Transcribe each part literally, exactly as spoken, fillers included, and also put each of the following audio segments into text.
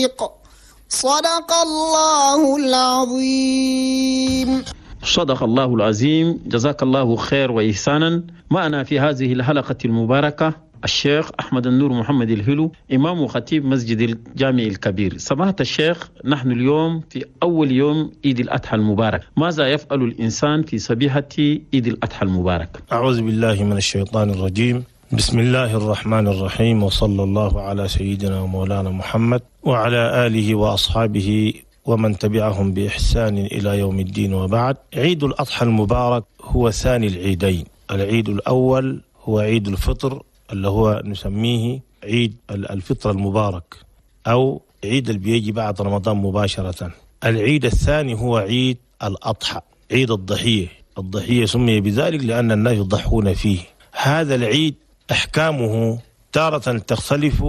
الطريق. صدق الله العظيم. صدق الله العظيم. جزاك الله خير وإحسانا. معنا في هذه الحلقة المباركة الشيخ أحمد النور محمد الهلو، إمام وخطيب مسجد الجامع الكبير. سماحة الشيخ، نحن اليوم في أول يوم عيد الأضحى المبارك، ماذا يفعل الإنسان في صبيحة عيد الأضحى المبارك؟ أعوذ بالله من الشيطان الرجيم. بسم الله الرحمن الرحيم، وصلى الله على سيدنا ومولانا محمد وعلى آله وأصحابه ومن تبعهم بإحسان إلى يوم الدين، وبعد. عيد الأضحى المبارك هو ثاني العيدين. العيد الأول هو عيد الفطر اللي هو نسميه عيد الفطر المبارك، أو عيد اللي بيجي بعد رمضان مباشرة. العيد الثاني هو عيد الأضحى، عيد الضحية. الضحية سمي بذلك لأن الناس يضحون فيه. هذا العيد أحكامه تارة تختلف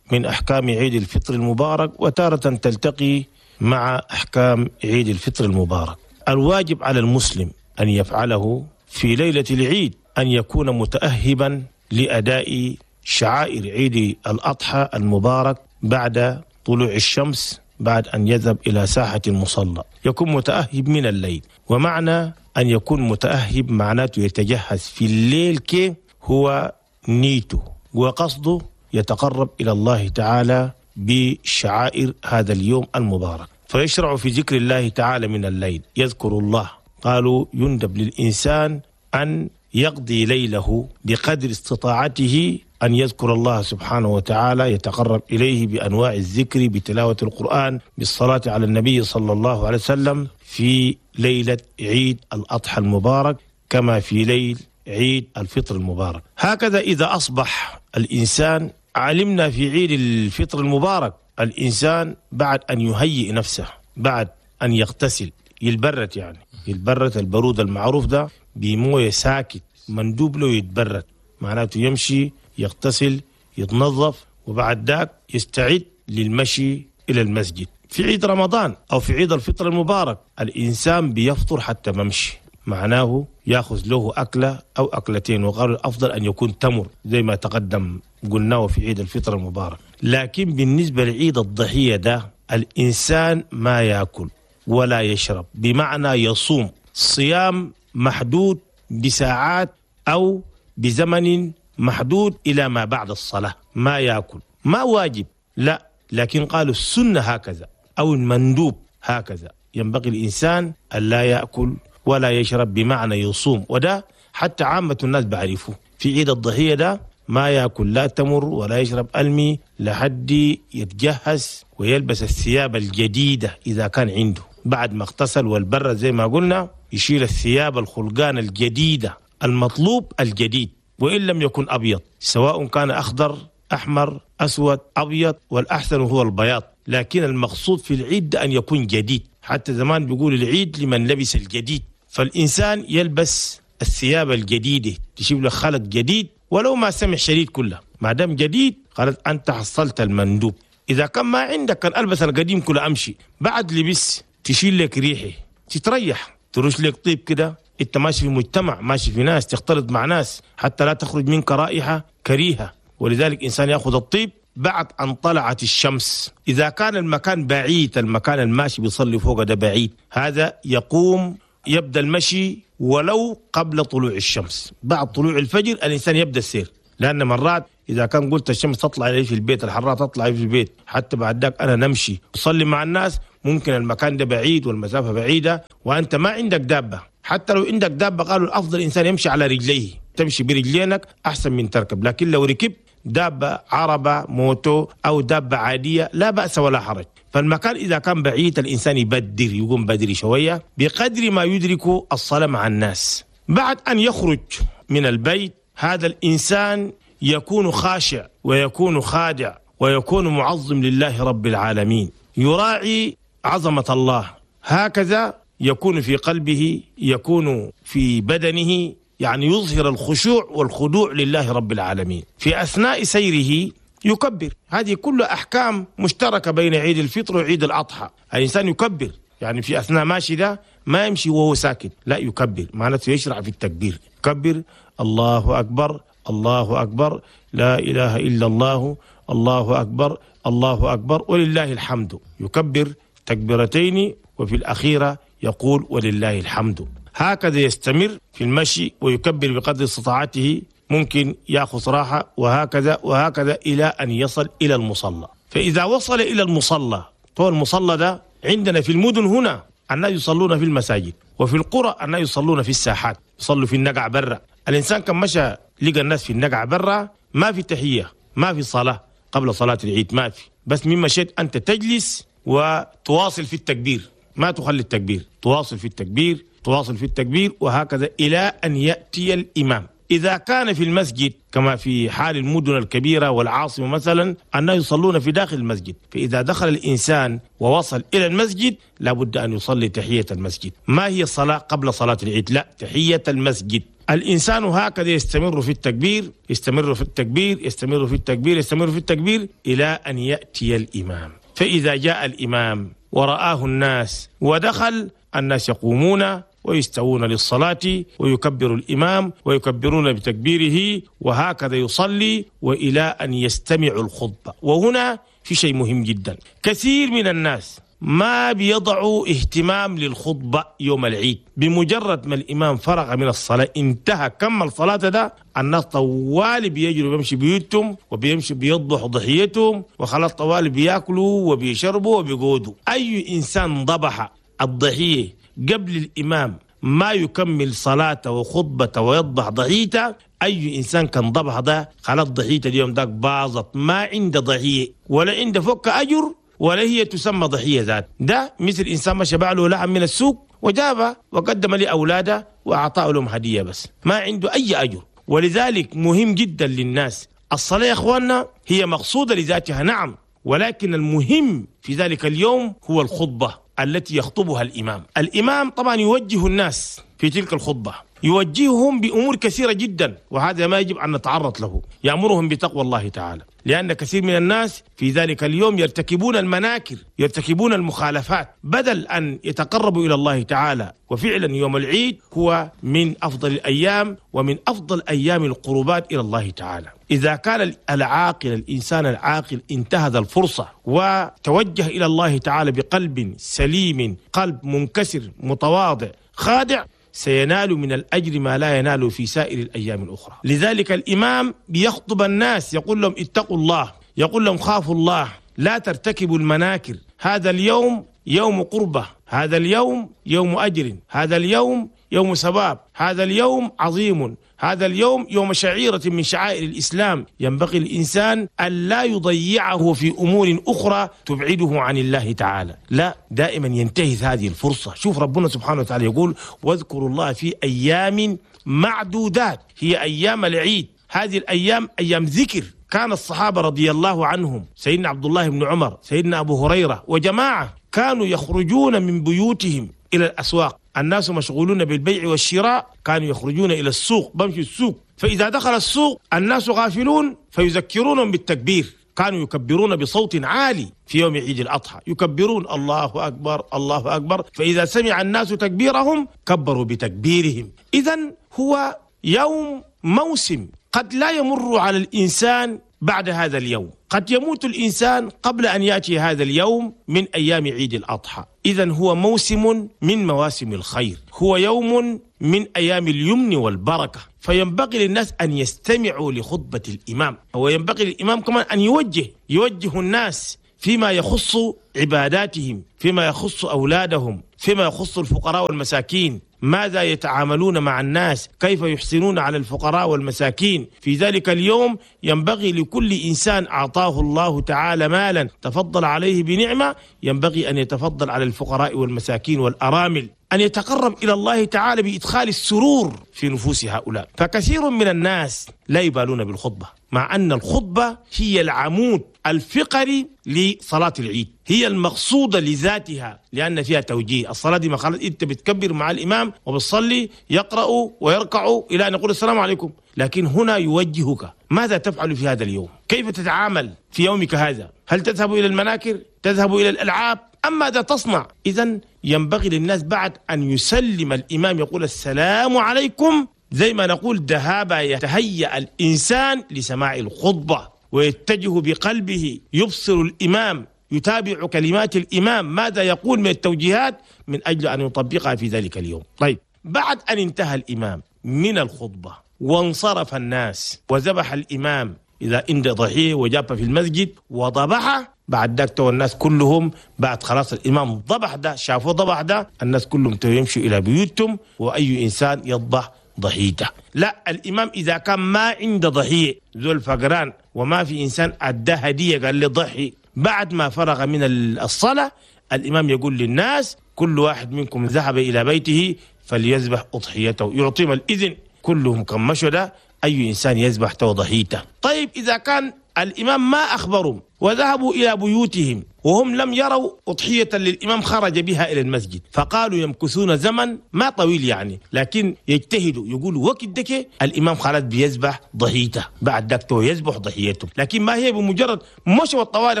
من أحكام عيد الفطر المبارك، وتارة تلتقي مع أحكام عيد الفطر المبارك. الواجب على المسلم أن يفعله في ليلة العيد أن يكون متأهبا لأداء شعائر عيد الأضحى المبارك بعد طلوع الشمس، بعد أن يذهب إلى ساحة المصلى. يكون متأهب من الليل، ومعنى أن يكون متأهب معناته يتجهز في الليل، كي هو نيته وقصده يتقرب إلى الله تعالى بشعائر هذا اليوم المبارك. فيشرع في ذكر الله تعالى من الليل، يذكر الله. قالوا يندب للإنسان أن يقضي ليله بقدر استطاعته أن يذكر الله سبحانه وتعالى، يتقرب إليه بأنواع الذكر، بتلاوة القرآن، بالصلاة على النبي صلى الله عليه وسلم في ليلة عيد الأضحى المبارك، كما في ليل عيد الفطر المبارك. هكذا إذا أصبح الإنسان، علمنا في عيد الفطر المبارك الإنسان بعد أن يهيئ نفسه، بعد أن يغتسل، يلبرت، يعني يلبرت البرود المعروف ده بمويه ساكت، مندوب له يتبرد، معناته يمشي يغتسل يتنظف، وبعد ذاك يستعد للمشي إلى المسجد. في عيد رمضان أو في عيد الفطر المبارك الإنسان بيفطر حتى ممشي، معناه يأخذ له أكلة أو أكلتين، وقالوا الأفضل أن يكون تمر زي ما تقدم قلناه في عيد الفطر المبارك. لكن بالنسبة لعيد الضحية ده الإنسان ما يأكل ولا يشرب، بمعنى يصوم صيام محدود بساعات أو بزمن محدود إلى ما بعد الصلاة، ما يأكل، ما واجب لا، لكن قالوا السنة هكذا أو المندوب هكذا، ينبغي الإنسان أن لا يأكل ولا يشرب، بمعنى يصوم. وده حتى عامة الناس بعرفوه في عيد الضحية ده ما يأكل لا تمر ولا يشرب ألمي لحد يتجهز ويلبس الثياب الجديدة إذا كان عنده، بعد ما اغتسل والبر زي ما قلنا يشيل الثياب الخلقان الجديدة، المطلوب الجديد، وإن لم يكن أبيض، سواء كان أخضر أحمر أسود أبيض، والأحسن هو البياض، لكن المقصود في العيد أن يكون جديد. حتى زمان بيقول العيد لمن لبس الجديد، فالإنسان يلبس الثياب الجديدة، تشيب له خلق جديد ولو ما سمع شديد كله، ما دام جديد قالت أنت حصلت المندوب. إذا كان ما عندك كان ألبس القديم كله أمشي، بعد لبس تشيل لك ريحه، تتريح، ترش لك طيب كده، انت ماشي في مجتمع، ماشي في ناس، تختلط مع ناس، حتى لا تخرج منك رائحة كريهة. ولذلك إنسان يأخذ الطيب بعد أن طلعت الشمس. إذا كان المكان بعيد، المكان الماشي بيصلي فوق ده بعيد، هذا يقوم يبدأ المشي ولو قبل طلوع الشمس، بعد طلوع الفجر الإنسان يبدأ السير، لأن مرات إذا كان قلت الشمس تطلع علي في البيت، الحرارة تطلع في البيت، حتى بعد ذاك أنا نمشي أصلي مع الناس، ممكن المكان ده بعيد والمسافة بعيدة وأنت ما عندك دابة. حتى لو عندك دابة قالوا الأفضل إنسان يمشي على رجليه، تمشي برجلينك أحسن من تركب، لكن لو ركب دابة عربة موتو أو دابة عادية لا بأس ولا حرج. فالمكان إذا كان بعيد الإنسان يبدر، يقوم بدري شوية بقدر ما يدرك الصلاة مع الناس. بعد أن يخرج من البيت هذا الإنسان يكون خاشع ويكون خادع ويكون معظم لله رب العالمين، يراعي عظمة الله، هكذا يكون في قلبه، يكون في بدنه، يعني يظهر الخشوع والخضوع لله رب العالمين. في أثناء سيره يكبر، هذه كل أحكام مشتركة بين عيد الفطر وعيد الأضحى. الإنسان يكبر، يعني في أثناء ماشي ده ما يمشي وهو ساكت، لا يكبر، معناته يشرع في التكبير، يكبر الله أكبر الله أكبر لا إله إلا الله الله أكبر الله أكبر ولله الحمد، يكبر تكبيرتين وفي الأخيرة يقول ولله الحمد. هكذا يستمر في المشي ويكبر بقدر استطاعته، ممكن يأخذ راحة، وهكذا وهكذا إلى أن يصل إلى المصلى. فإذا وصل إلى المصلى، طبعا المصلى ده عندنا في المدن هنا الناس يصلون في المساجد، وفي القرى الناس يصلون في الساحات، يصلوا في النقع برا. الإنسان كان مشى لقى الناس في النقع برا، ما في تحية، ما في صلاة قبل صلاة العيد، ما في، بس مما شئت أنت تجلس وتواصل في التكبير، ما تخلي التكبير، تواصل في التكبير، تواصل في التكبير، وهكذا إلى أن يأتي الإمام. إذا كان في المسجد كما في حال المدن الكبيرة والعاصمة مثلا، أنه يصلون في داخل المسجد، فإذا دخل الإنسان ووصل إلى المسجد لابد أن يصلي تحية المسجد. ما هي الصلاة قبل صلاة العيد؟ لا، تحية المسجد. الإنسان هكذا يستمر في التكبير، يستمر في التكبير، يستمر في التكبير، يستمر في التكبير إلى أن يأتي الإمام. فإذا جاء الإمام ورآه الناس ودخل، الناس يقومون ويستوون للصلاة ويكبر الإمام ويكبرون بتكبيره، وهكذا يصلي وإلى أن يستمع الخطبة. وهنا في شيء مهم جدا، كثير من الناس ما بيضعوا اهتمام للخطبة يوم العيد. بمجرد ما الإمام فرغ من الصلاة، انتهى كمل صلاته ده، الناس طوال بيجروا بيمشي بيوتهم وبيمشي بيضحوا ضحيتهم، وخلاص طوال بياكلوا وبيشربوا وبيقودوا. أي إنسان ضبح الضحية قبل الإمام ما يكمل صلاته وخطبته ويضبح ضحيته، أي إنسان كان ضبح ده خلاص ضحيته اليوم داك باظت، ما عنده ضحية ولا عنده فك أجر ولا هي تسمى ضحية ذات. ده مثل إنسان ما شبع له لحم من السوق وجابه وقدم لأولاده وأعطاه لهم هدية، بس ما عنده أي أجر. ولذلك مهم جدا للناس الصلاة يا إخواننا، هي مقصودة لذاتها نعم، ولكن المهم في ذلك اليوم هو الخطبة التي يخطبها الإمام. الإمام طبعا يوجه الناس في تلك الخطبة، يوجههم بأمور كثيرة جدا، وهذا ما يجب أن نتعرض له. يأمرهم بتقوى الله تعالى، لأن كثير من الناس في ذلك اليوم يرتكبون المناكر، يرتكبون المخالفات، بدل أن يتقربوا إلى الله تعالى. وفعلا يوم العيد هو من أفضل الأيام ومن أفضل أيام القربات إلى الله تعالى. إذا كان العاقل، الإنسان العاقل، انتهز الفرصة وتوجه إلى الله تعالى بقلب سليم، قلب منكسر متواضع خادع، سينال من الأجر ما لا ينال في سائر الأيام الأخرى. لذلك الإمام بيخطب الناس، يقول لهم اتقوا الله، يقول لهم خافوا الله، لا ترتكبوا المناكر، هذا اليوم يوم قربة، هذا اليوم يوم أجر، هذا اليوم يوم ثواب، هذا اليوم عظيم، هذا اليوم يوم شعيرة من شعائر الإسلام. ينبغي الإنسان أن لا يضيعه في أمور أخرى تبعده عن الله تعالى، لا، دائما ينتهز هذه الفرصة. شوف ربنا سبحانه وتعالى يقول واذكروا الله في أيام معدودات، هي أيام العيد. هذه الأيام أيام ذكر. كان الصحابة رضي الله عنهم، سيدنا عبد الله بن عمر، سيدنا أبو هريرة وجماعة، كانوا يخرجون من بيوتهم إلى الأسواق. الناس مشغولون بالبيع والشراء، كانوا يخرجون إلى السوق، بمشي السوق، فإذا دخل السوق الناس غافلون فيذكرونهم بالتكبير. كانوا يكبرون بصوت عالي في يوم عيد الأضحى، يكبرون الله أكبر الله أكبر، فإذا سمع الناس تكبيرهم كبروا بتكبيرهم. إذن هو يوم موسم قد لا يمر على الإنسان بعد هذا اليوم، قد يموت الإنسان قبل أن يأتي هذا اليوم من أيام عيد الأضحى. إذن هو موسم من مواسم الخير، هو يوم من أيام اليمن والبركة. فينبغي للناس أن يستمعوا لخطبة الإمام، وينبغي للإمام كمان أن يوجه يوجه الناس فيما يخص عباداتهم، فيما يخص أولادهم، فيما يخص الفقراء والمساكين، ماذا يتعاملون مع الناس، كيف يحسنون على الفقراء والمساكين. في ذلك اليوم ينبغي لكل إنسان أعطاه الله تعالى مالا تفضل عليه بنعمة، ينبغي أن يتفضل على الفقراء والمساكين والأرامل، أن يتقرب إلى الله تعالى بإدخال السرور في نفوس هؤلاء. فكثير من الناس لا يبالون بالخطبة، مع أن الخطبة هي العمود الفقري لصلاة العيد، هي المقصودة لذاتها، لأن فيها توجيه. الصلاة دي ما خلاص أنت بتكبر مع الإمام وبتصلي، يقرأ ويركع إلى أن يقول السلام عليكم، لكن هنا يوجهك ماذا تفعل في هذا اليوم، كيف تتعامل في يومك هذا، هل تذهب إلى المناكر، تذهب إلى الألعاب، أم ماذا تصنع؟ إذن ينبغي للناس بعد أن يسلم الإمام يقول السلام عليكم، زي ما نقول ذهاب يتهيأ الإنسان لسماع الخطبة. ويتجه بقلبه، يبصر الإمام، يتابع كلمات الإمام ماذا يقول من التوجيهات من أجل أن يطبقها في ذلك اليوم. طيب، بعد أن انتهى الإمام من الخطبة وانصرف الناس وذبح الإمام إذا عند ضحيه وجاب في المسجد وضبحه، بعد ذاك تو الناس كلهم بعد خلاص الإمام ضبح ده، شافوه ضبح ده، الناس كلهم يمشوا إلى بيوتهم، وأي إنسان يضبح ضحيته. لا، الإمام إذا كان ما عنده ضحية ذو الفقران وما في إنسان أدى هدية قال لي ضحي، بعد ما فرغ من الصلاة الإمام يقول للناس كل واحد منكم ذهب إلى بيته فليذبح أضحيته، يعطيهم الإذن كلهم كم مشوا ده أي إنسان يذبح ضحيته. طيب، إذا كان الإمام ما أخبرهم وذهبوا إلى بيوتهم وهم لم يروا أضحية للإمام خرج بها إلى المسجد، فقالوا يمكثون زمن ما طويل يعني، لكن يجتهدوا يقولوا وقت دك الإمام خلاص بيذبح ضحيته، بعد ذاك يذبح ضحيته. لكن ما هي بمجرد مشوا الطوالي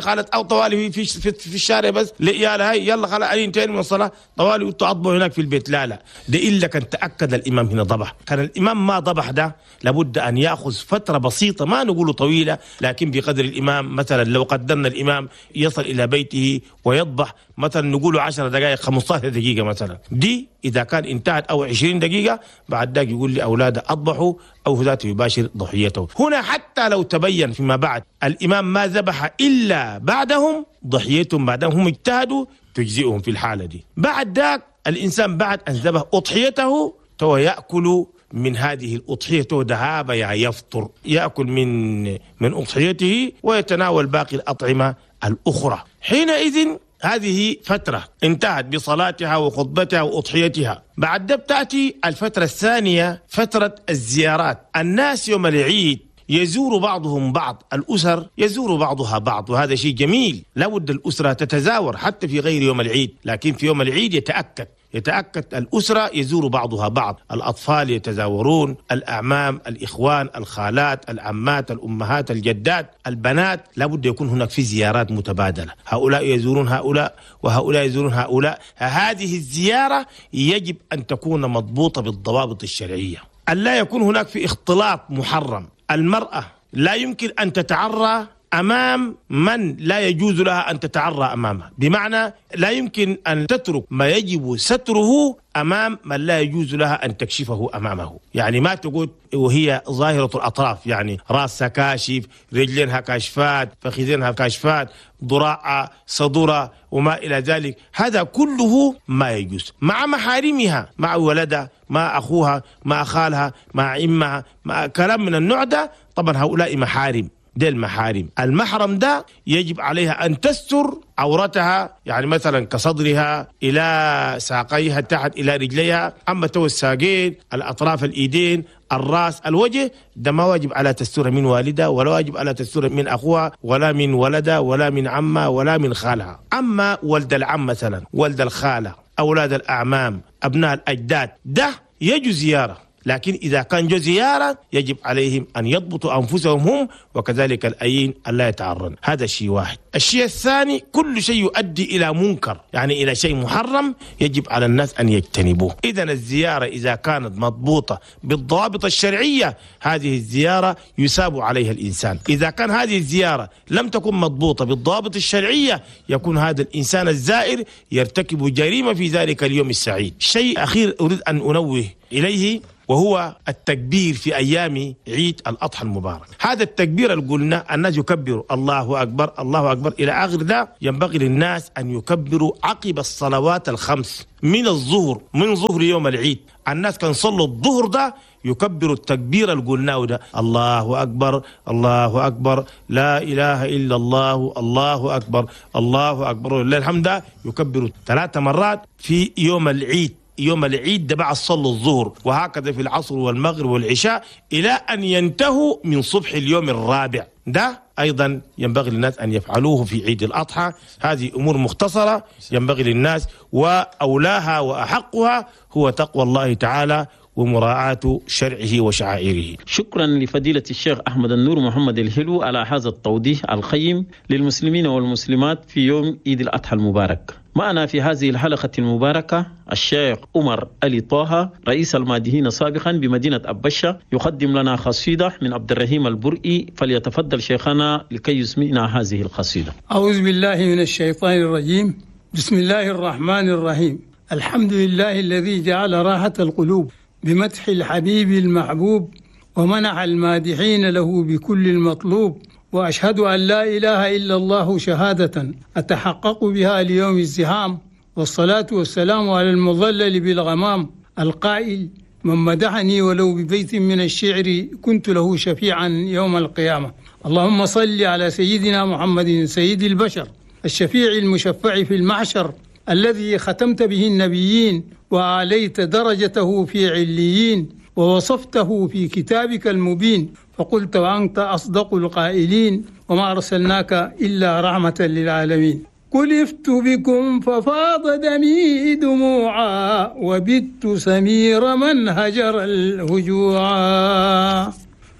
قالت أو طوالي في, في, في الشارع بس يا هاي يلا خلاص انتهينا من الصلاة طوالي وتعضبوا هناك في البيت، لا لا، ده إلا كان تأكد الإمام هنا ضبح. كان الإمام ما ضبح ده لابد أن يأخذ فترة بسيطة، ما نقول طويلة، لكن بقدر الإمام. مثلا لو قدرنا الإمام يصل إلى بيته ويضبح مثلا نقوله عشر دقائق خمسة عشر دقيقة مثلا، دي إذا كان انتهت أو عشرين دقيقة بعد ذاك يقول لأولاده أضبحوا أو ذاته يباشر ضحيته. هنا حتى لو تبين فيما بعد الإمام ما ذبح إلا بعدهم ضحيتهم بعدهم هم اجتهدوا تجزئهم في الحالة دي. بعد ذاك الإنسان بعد أن ذبح أضحيته تو يأكل من هذه الأضحية ذهاب يعني يفطر، يأكل من من أضحيته ويتناول باقي الأطعمة الأخرى. حينئذ هذه فترة انتهت بصلاتها وخطبتها وأضحيتها. بعد ذلك تأتي الفترة الثانية، فترة الزيارات. الناس يوم العيد يزور بعضهم بعض، الأسر يزور بعضها بعض، وهذا شيء جميل. لابد الأسرة تتزاور حتى في غير يوم العيد، لكن في يوم العيد يتأكد يتأكد الأسرة يزور بعضها بعض، الأطفال يتزاورون، الأعمام، الإخوان، الخالات، العمات، الأمهات، الجدات، البنات، لابد يكون هناك في زيارات متبادلة، هؤلاء يزورون هؤلاء وهؤلاء يزورون هؤلاء. هذه الزيارة يجب أن تكون مضبوطة بالضوابط الشرعية، أن لا يكون هناك في اختلاط محرم. المرأة لا يمكن أن تتعرى أمام من لا يجوز لها أن تتعرى أمامه، بمعنى لا يمكن أن تترك ما يجب ستره أمام من لا يجوز لها أن تكشفه أمامه. يعني ما تقول وهي ظاهرة الأطراف، يعني رأسها كاشف، رجلينها كاشفات، فخذينها كاشفات، ضراعها، صدرها وما إلى ذلك، هذا كله ما يجوز. مع محارمها، مع ولدها، مع أخوها، مع خالها، مع عمها، مع كلام من النوع ده، طبعا هؤلاء محارم، ده المحارم. المحرم ده يجب عليها أن تستر عورتها، يعني مثلا كصدرها إلى ساقيها تحت إلى رجليها، أما تو الساقين، الأطراف، الإيدين، الرأس، الوجه، ده ما واجب على تستر من والدها، ولا واجب على تستر من أخوها، ولا من ولدها، ولا من عمها، ولا من خالها. أما ولد العم مثلا، ولد الخالة، أولاد الأعمام، أبناء الأجداد، ده يجوز زيارة، لكن إذا كان جو زيارة يجب عليهم أن يضبطوا أنفسهم هم، وكذلك الأيين ألا يتعرن. هذا شيء واحد. الشيء الثاني، كل شيء يؤدي إلى منكر، يعني إلى شيء محرم، يجب على الناس أن يجتنبوه. إذن الزيارة إذا كانت مضبوطة بالضوابط الشرعية، هذه الزيارة يثاب عليها الإنسان. إذا كان هذه الزيارة لم تكن مضبوطة بالضوابط الشرعية، يكون هذا الإنسان الزائر يرتكب جريمة في ذلك اليوم السعيد. شيء أخير أريد أن أنوه إليه، وهو التكبير في أيام عيد الأضحى المبارك. هذا التكبير اللي قلنا الناس يكبروا الله أكبر الله أكبر إلى آخر ده، ينبغي للناس أن يكبروا عقب الصلوات الخمس من الظهر، من ظهر يوم العيد. الناس كان صلوا الظهر ده يكبروا التكبير اللي قلناه ده، الله أكبر الله أكبر، لا إله إلا الله، الله أكبر الله أكبر ولله الحمد، يكبروا ثلاث مرات في يوم العيد. يوم العيد ده بعد صلوا الظهر، وهكذا في العصر والمغرب والعشاء إلى أن ينتهوا من صبح اليوم الرابع. ده أيضا ينبغي للناس أن يفعلوه في عيد الأضحى. هذه أمور مختصرة ينبغي للناس، وأولاها وأحقها هو تقوى الله تعالى ومراعاة شرعه وشعائره. شكرا لفضيلة الشيخ أحمد النور محمد الحلو على هذا التوضيح القيم للمسلمين والمسلمات في يوم عيد الأضحى المبارك. معنا في هذه الحلقة المباركة الشيخ عمر علي طه، رئيس المادحين سابقا بمدينة أبشة، يقدم لنا قصيدة من عبد الرحيم البرئي. فليتفضل شيخنا لكي يسمعنا هذه القصيدة. أعوذ بالله من الشيطان الرجيم. بسم الله الرحمن الرحيم. الحمد لله الذي جعل راحة القلوب بمدح الحبيب المحبوب، ومنح المادحين له بكل المطلوب. وأشهد أن لا إله إلا الله شهادة أتحقق بها ليوم الزحام، والصلاة والسلام على المظلل بالغمام القائل: من مدحني ولو ببيت من الشعر كنت له شفيعا يوم القيامة. اللهم صل على سيدنا محمد سيد البشر الشفيع المشفع في المحشر، الذي ختمت به النبيين وعليت درجته في عليين، ووصفته في كتابك المبين، فقلت وأنت أصدق القائلين: وما أرسلناك إلا رحمة للعالمين. كلفت بكم ففاض دمي دموعا، وبت سمير من هجر الهجوعا.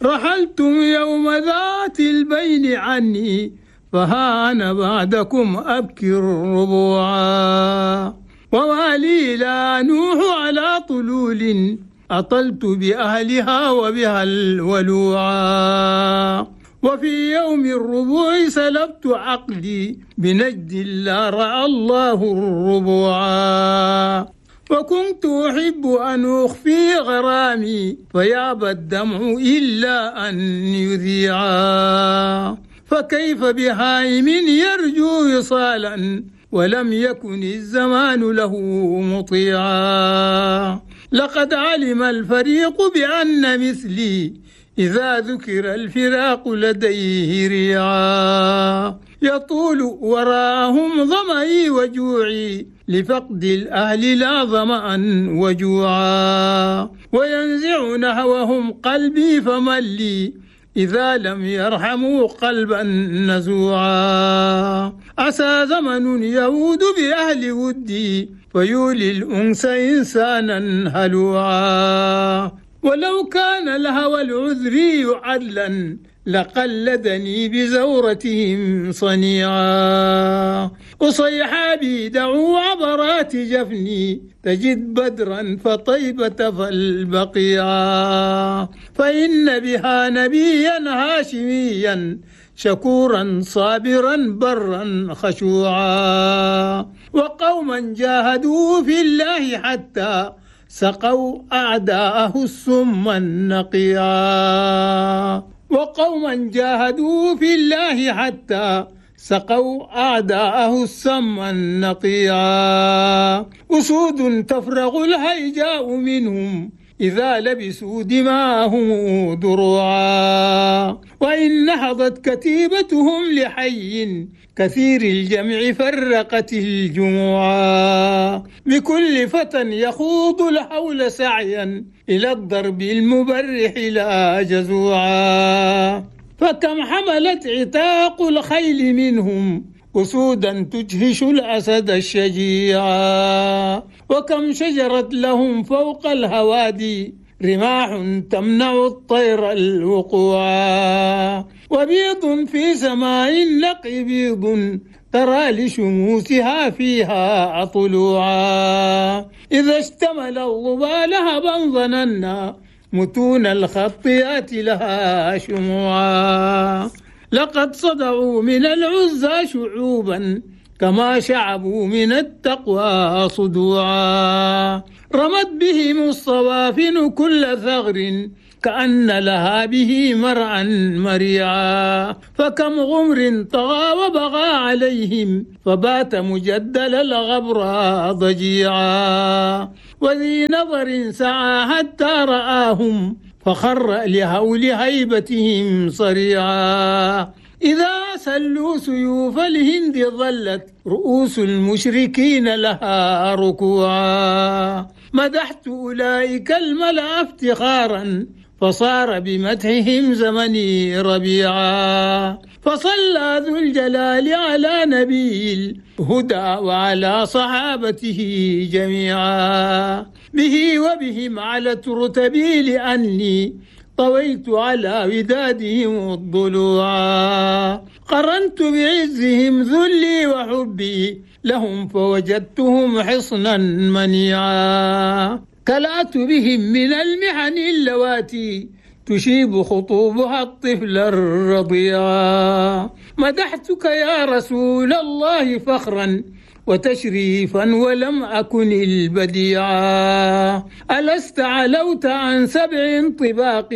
رحلتم يوم ذات البين عني، فها أنا بعدكم أبكي الربوعا. وما لي لا نوح على طلول، أطلت بأهلها وبها الولوعا. وفي يوم الربوع سلبت عقلي بنجد لا رأى الله الربوعا. وكنت أحب أن أخفي غرامي، فيابى الدمع إلا أن يذيعا. فكيف بهائم يرجو وصالا، ولم يكن الزمان له مطيعا. لقد علم الفريق بأن مثلي إذا ذكر الفراق لديه ريعا. يطول وراهم ظمئي وجوعي، لفقد الأهل لا ظمأ وجوعا. وينزع نحوهم قلبي فمن لي إذا لم يرحموا قلبا نزوعا. عسى زمن يعود بأهل ودي، فيولي الأنس إنسانا هلوعا. ولو كان الهوى العذري عدلا، لقلدني بزورتهم صنيعا. أصيحابي دعوا عبرات جفني، تجد بدرا فطيبة فالبقيعا. فإن بها نبيا هاشميا، شكورا صابرا برا خشوعا. وقوما جاهدوا في الله حتى سقوا أعداءه السم النقيعا. وقوما جاهدوا في الله حتى سقوا أعداءه السم النقيعا. أسود تفرغ الهيجاء منهم، إذا لبسوا دماءهم دروعا. وإن نهضت كتيبتهم لحي كثير الجمع فرقت الجموعا. بكل فتى يخوض الحول سعيا، إلى الضرب المبرح لا جزوعا. فكم حملت عتاق الخيل منهم أسودا تجهش الأسد الشجيعا. وكم شجرت لهم فوق الهوادي رماح تمنع الطير الوقوعا. وبيض في سماء النقي بيض، ترى لشموسها فيها طلوعا. إذا اشتمل الظبا لهبا ظننا متون الخطيات لها شموعا. لقد صدعوا من العزى شعوبا، كما شعبوا من التقوى صدوعا. رمت بهم الصوافن كل ثغر، كأن لها به مرعا مريعا. فكم غمر طغى وبغى عليهم، فبات مجدل الغبرى ضجيعا. وذي نظر سعى حتى رآهم، فخر لهول هيبتهم صريعا. إذا سلوا سيوف الهند ظلت رؤوس المشركين لها ركوعا. مدحت أولئك الملأ افتخارا، فصار بمدحهم زمني ربيعا. فصلى ذو الجلال على نبي الهدى وعلى صحابته جميعا. به وبهم علت رتبي لأني طويت على ودادهم الضلوعا. قرنت بعزهم ذلي وحبي لهم فوجدتهم حصنا منيعا. كلأت بهم من المحن اللواتي تشيب خطوبها الطفل الرضيعا. مدحتك يا رسول الله فخرا وتشريفا ولم أكن البديعا. ألست علوت عن سبع طباق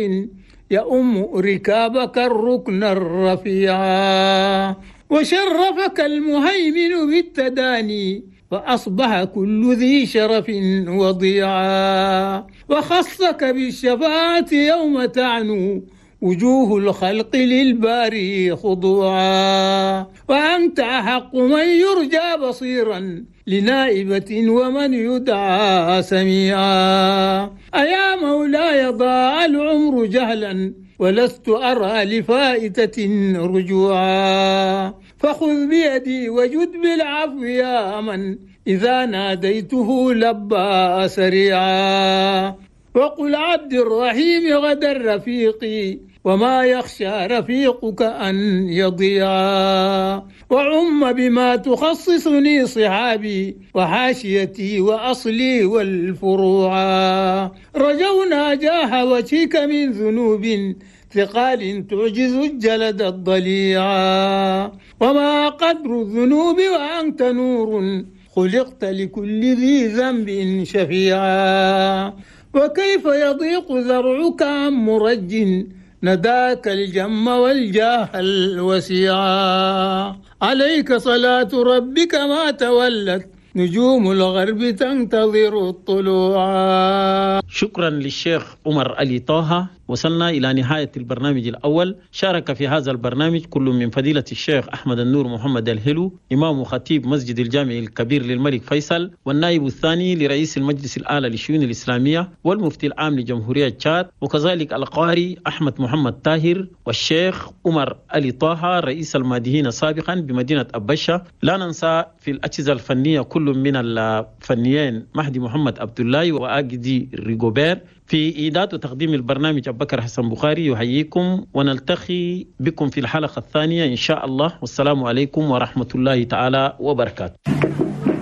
يؤم ركابك الركن الرفيعا. وشرفك المهيمن بالتداني فأصبح كل ذي شرف وضيعا. وخصك بالشفاعة يوم تعنو وجوه الخلق للباري خضوعا. وأنت أحق من يرجى بصيرا لنائبة ومن يدعى سميعا. أيا مولاي ضاع العمر جهلا ولست أرى لفائتة رجوعا. فخذ بيدي وجد بالعفو يا من إذا ناديته لبى سريعا. وقل عبد الرحيم غدا رفيقي وما يخشى رفيقك أن يضيعا. وعم بما تخصصني صحابي وحاشيتي وأصلي والفروعا. رجونا جاه وجهك من ذنوب ثقال تعجز الجلد الضليعا. وما قدر الذنوب وأنت نور خلقت لكل ذي ذنب شفيعا. وكيف يضيق ذرعك عن مرج نداك الجم والجاه الوسيعا. عليك صلاة ربك ما تولت نجوم الغرب تنتظر الطلوع. شكرا للشيخ عمر علي طه. وصلنا إلى نهاية البرنامج الأول. شارك في هذا البرنامج كل من فضيلة الشيخ أحمد النور محمد الهلو إمام خطيب مسجد الجامع الكبير للملك فيصل، والنائب الثاني لرئيس المجلس الأعلى للشؤون الإسلامية والمفتي العام لجمهورية تشاد، وكذلك القاري أحمد محمد طاهر والشيخ عمر علي طه رئيس المادهين سابقا بمدينة أبشة. لا ننسى في الأجهزة الفنية كل من الفنيين مهدي محمد عبد الله وأجدي ريغوبير. في إعداد وتقديم البرنامج أبو بكر حسن بخاري يحييكم، ونلتقي بكم في الحلقة الثانية إن شاء الله. والسلام عليكم ورحمة الله تعالى وبركاته.